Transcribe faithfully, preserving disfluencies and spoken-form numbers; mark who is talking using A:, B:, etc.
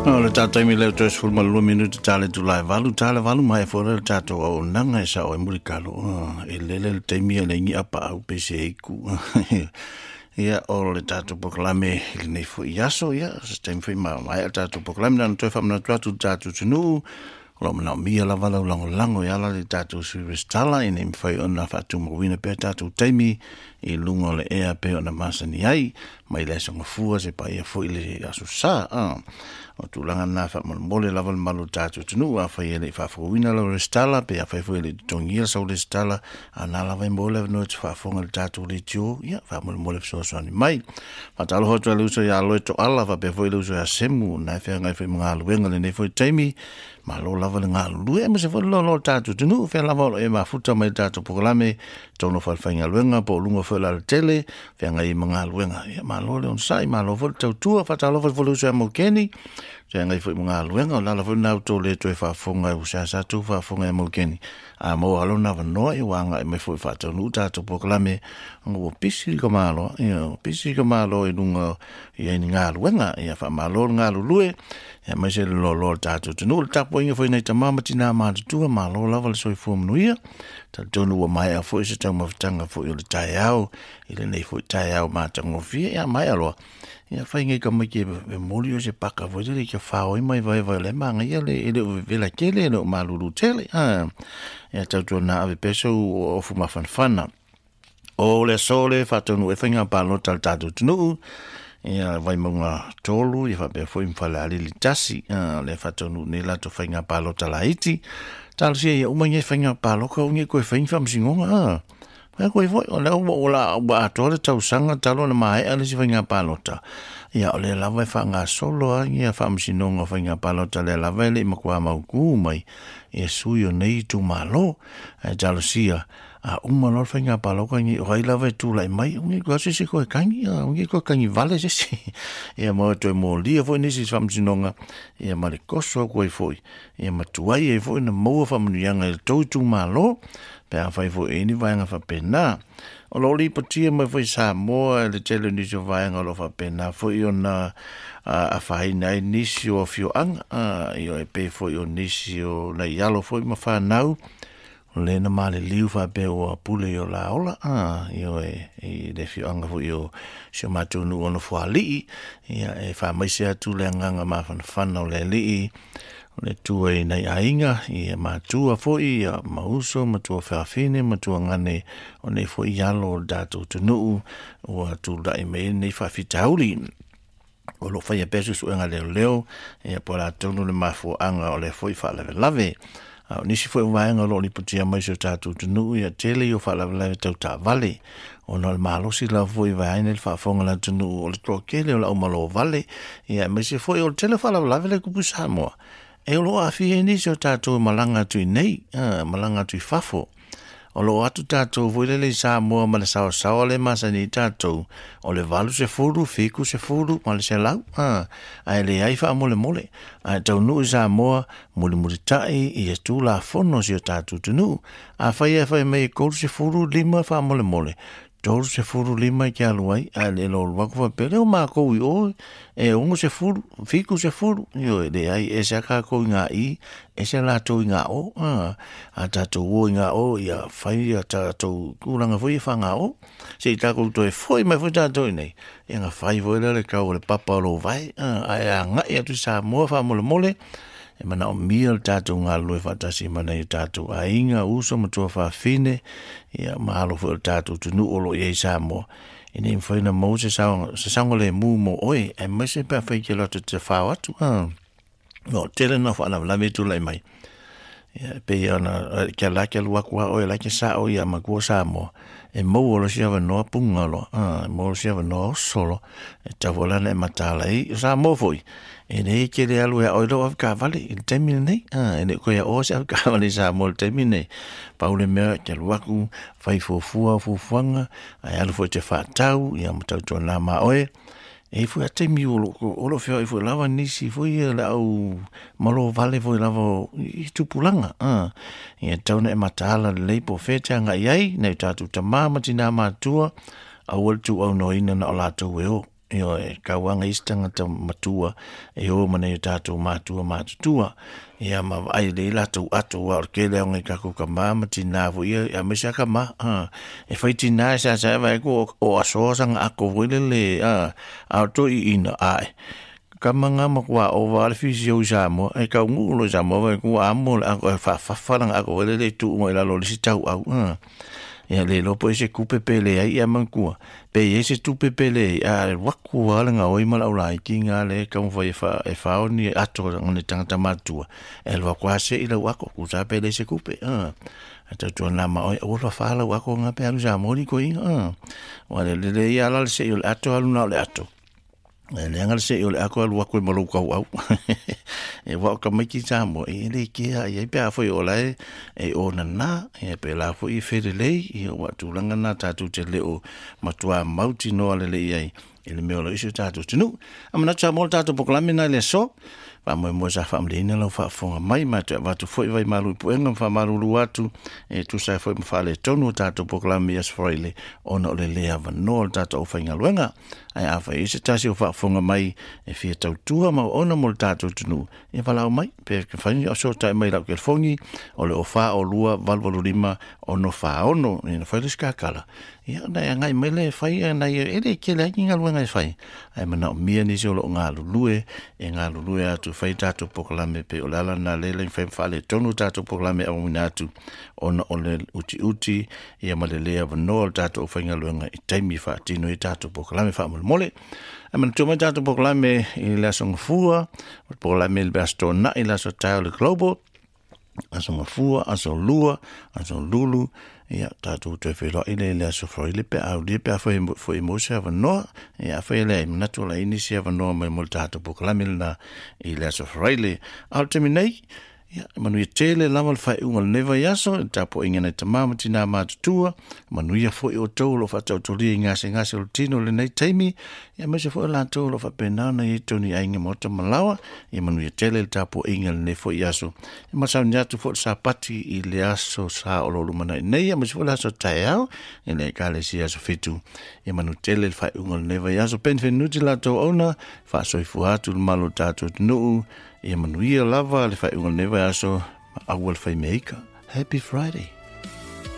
A: O le tatou le toe sefulu ma lua minute tale tulai valu tale valu mai fo le tatou auaunaga e sao ai mulikalo e lele le taimi e le ingi apa au pe se iku. Ia o le tatou polokalame i lenei foi aso ia se taimi foi ma mai le tatou polokalame na toe faamanatu atu le tatou atunuu o lo o manaomia lava lau lagolago e ala le tatou sui resitala ina ia mafai ona faatumauina pea tatou taimi i luga o le ea pei ona masani ai mai le aso gafua se paia foi le aso sa. O tulaga na faamolemole lava le malu o le tatou atunuu afai e le i faafouina lau resitala pe afai foi e le i totogia sau resitala a na lava e maua le avanoa e te faafofoga i le tatou leitio ia faamolemole fesoasoani mai. Faatalofa atu ai le uso ia Aloe Toala faapea foi le uso ia Semu na e feagai foi ma galuega lenei foi taimi. Malo lava le galulue aemaise foi le loaloa o le tatou atunuu fea lava o lo o e mafuta mai le tatou polokalame tonu fale-faigaluega po o luga foi o le alatele feagai ai ma galuega. Ia malo le onosai, malo foi le tautua. Faatalofa foi le uso ia Maukeni feagai foi ma galuega o le ala foi lena ua le toe faafofoga ua seasea tou faafofoga ia Maukeni a maua lona avanoa ia ua agai mai foi faataunuu tatou polokalame ona ua pisi ka malo ia ua pisi ka malo i luga i ni galuega. Ia faamalo le galulue ia aemaise le loaloa o le tatou atunuu le tapuaiga foi nai tama ma tina matutua malo lava le soifua manuia. Talitonu ua maea foi se taumafataga foi o le taeao i lenei foi taeao matagofie ia maea loa ia fai ngai ka mai ke e moli o se paka foi le ke fao mai vai vai le manga ia le ele o vela kele le o malulu tele a ia tautua ave peso o fumafanafana o le aso le faataunuu e faiga palota le tatou atunuu ia Vaimauga tolu ia faapea foi ma Falealili tasi le faataunuu nei latou faiga palota laiti. Talosia ia uma nei faiga palota o nei koe fai ni faamasinoga a. Fai koe foi o lea ua ua ua atoa le tausaga talu ona maea le isi faiga palota. Ia o lea lava e faagasolo ai ia faamasinoga o faiga palota lea lava e le i matua mautu mai ia sui o nei itumalo. Ae talosia a uma loa le faiga palota nei o ai lava e tulai mai o nei koe se se koe kangi o nei koe kangi vale se se. Ia ma toe molia foi nisi faamasinoga ia ma le koso koe foi ia ma tuai ai foi na maua faamanuiaga i le tou itumalo pe afai foi e ni vaega faapena. O lo o lipotia mai foi Samoa le tele o nisi o vaega o lo o faapena foi ona afaina ai nisi o afioaga ia e pei foi o nisi o nai alo foi ma fanau o le na maliliu faapea ua pule i o la ola ia e i le afioaga foi o si o matou nuu ona fualii ia e faamaise atu le agaga mafanafana o le alii o le tua i nai aiga ia matua foi ia mauso matua faafine matua gane o nei foi alo o le tatou atunuu ua tulai mai ai lenei faafitauli. O lo o faia pea suesuega leoleo ia po o le atonu le mafuaaga o le foi faalavelave. A o nisi foi o vaega o lo o lipotia mai si o tatou atunuu ia tele i o faalavelave tau taavale ona o le malosi lava foi vaeaina le faafofoga le atunuu o le toatele o le aumalo vale ia aemaise foi o le tele o faalavelave le tupu i Samoa. E o lo o aafia ai nisi o tatou malaga atu i nei, malaga atu i fafo. O lo o atu tatou foi lele i Samoa ma le saosaoa le masani i tatou o le valu sefulu, fitu sefulu ma le selau ae leai faamolemole. Ae taunuu i Samoa mulimulitai ia tulafono si o tatou atunuu. Afai e fai mai e tolu sefulu lima faamolemole, tolu sefulu lima i ke alu ai, ae le lolu atu faapea lea o makou i o e ono sefulu, fitu sefulu, ioe leai ese a tatou i ngā i, ese a latou i ngā o, a, a tatou o i ngā o, ia fai ia tatou tulaga foi e whanga o, se i tatou toe foi mai foi tatou i nei, ia nga fai foi lea le kau o le papa o lou vai, a, ae agai atu i Samoa faamolemole, e manaomia le tatou galulue faatasi ma nai o tatou aiga, uso ma tuafafine, ia ma alo foi o le tatou atunuu o lo o i ai i Samoa. Ina ia mafai ona maua se saoga, se saogalemu mo oe, aemaise pe afai ke loto te whao atu. Ah. No, tele na whaalavelave tulai mai. Ia, e pei ona, kia la kia alu atu a oe, la kia sa o ia makua Samoa. E maua lo si avanoa punga loa. Ah, e maua lo si avanoa oso loa. E tau foi lana e mataala ai. O Samoa foi, e nei ke le alu e a oe lau avekavale i le taimi lenei. Ah, e le koe a oe se avekavale i Samoa i le taimi lenei. Pau le mea kia alu atu, fai fuafua o fuafuaga, ae alu foi te whaatau, ia ma tautua nā ma oe. E foi a taimi o lo, o lo feoai foi lava nisi foi ia le au malo vale foi lava o i tupulaga. Ah, ia tau na e mataala lelei po o fea te agai ai, nai o tatou tamā ma tinā matua, aua le tuuaunoaina na o latou e o. Io e kauanga isi tagata matua e o ma nei o tatou matua matutua ia ma vaai lelei latou ato ua o le tele aoga i tatou kamā ma tinā foi ia aemaise a kamā a e fai tinā e seasea vaai atu o asoa saga ato foi lele a a o toiina ae kama nga matua ova le fisio i Samoa e taunuu loa i Samoa vaai atu ua amo le ato e faafafa lana ato foi lele e tuu mai lalo o le isi tauau a ia le iloa po o i se tupe pe leai ia manatua pe i ai se tupe pe leai a alu atu lava le gaoi ma le aulaiti ga lea e taumafai e fa e faoni ato o le tagata matutua e alu atu lava se'i lau ato tusa pe leai se tupe a ae tautuana ma oe aua le fafā lau ato ga pe alu i Samoa litoeina a ua le lelei lava la le se'i o le ato alu na o le ato e leaga le se'i o le ato alu atu ai ma lou tauau e ua o tamaiti Samoa e le kea i ai pe afai o lae e onana e pe la foi e felelei ia ua tulaga na tatou te le o matua mautinoa lelei ai i le mea o lo o i si o tatou atunuu. A manatu Samoa o le tatou polokalame na i le aso, faamoemoe sa faamalieina lau faafofoga mai ma toe avatu foi vai malu i puega ma faamalulu atu e tusa ai foi ma faaletonu o tatou polokalame i Aso Faraile ona o le le avanoa o le tatou aufaigaluega. Ae afai i se tasi o faafofoga mai e fia tautua ma auauna mo le tatou atunuu, ia valaau mai pe mafai ona fesootai mai i lau telefoni o le fa o lua valu valu lima ono fa ono. Ia ona fai lea o se kakala, ia ona e agai mai lea e fai nai e le tele ai ni galuega e fai, ae manaomia nisi o lo o galulue e galulue atu e fai tatou polokalame pei o le ala lena lea e mafai ona faaletonu tatou polokalame e auina atu ona o le utiuti ia ma le le avanoa o le tatou aufaigaluega i taimi e faatino ai tatou polokalame faamolemole. Ae manatua mai tatou polokalame i le Aso Gafua, o le polokalame i le Aso Toonai, le Aso Taeao le Global, Aso Gafua, Aso Lua, Aso Lulu, ia tatou toe feiloai lea i le Aso Faraile pe a aulia pe afai foi mo se avanoa. Ia afai e leai manatu o la i nisi avanoa mai mo le tatou polokalame lena i le Aso Faraile. A o le taimi nei, ia, manuia tele lava le faaiuga o lenei vaiaso, i le tapuaiga nai tamā ma tinā matutua, manuia foi outou o lo o faataotolia i gasegase o le tino i lenei taimi, ia aemaise foi o latou o lo o faapena ona i ai tonu i aiga maota ma laoa, ia manuia tele le tapuaiga i lenei foi aso. E masauni atu foi le Sapati i le aso sa o lo o lumanai nei, aemaise foi le aso taeao i le Ekalesia Aso Fitu. Ia manu tele le faaiuga o lenei vaiaso. Penvenuti latou auauna, faasoifua atu le malu o le tatou atunuu, ia manuia lava le faaiuga o lenei vaiaso, ma aua le fai meaika. Happy Friday.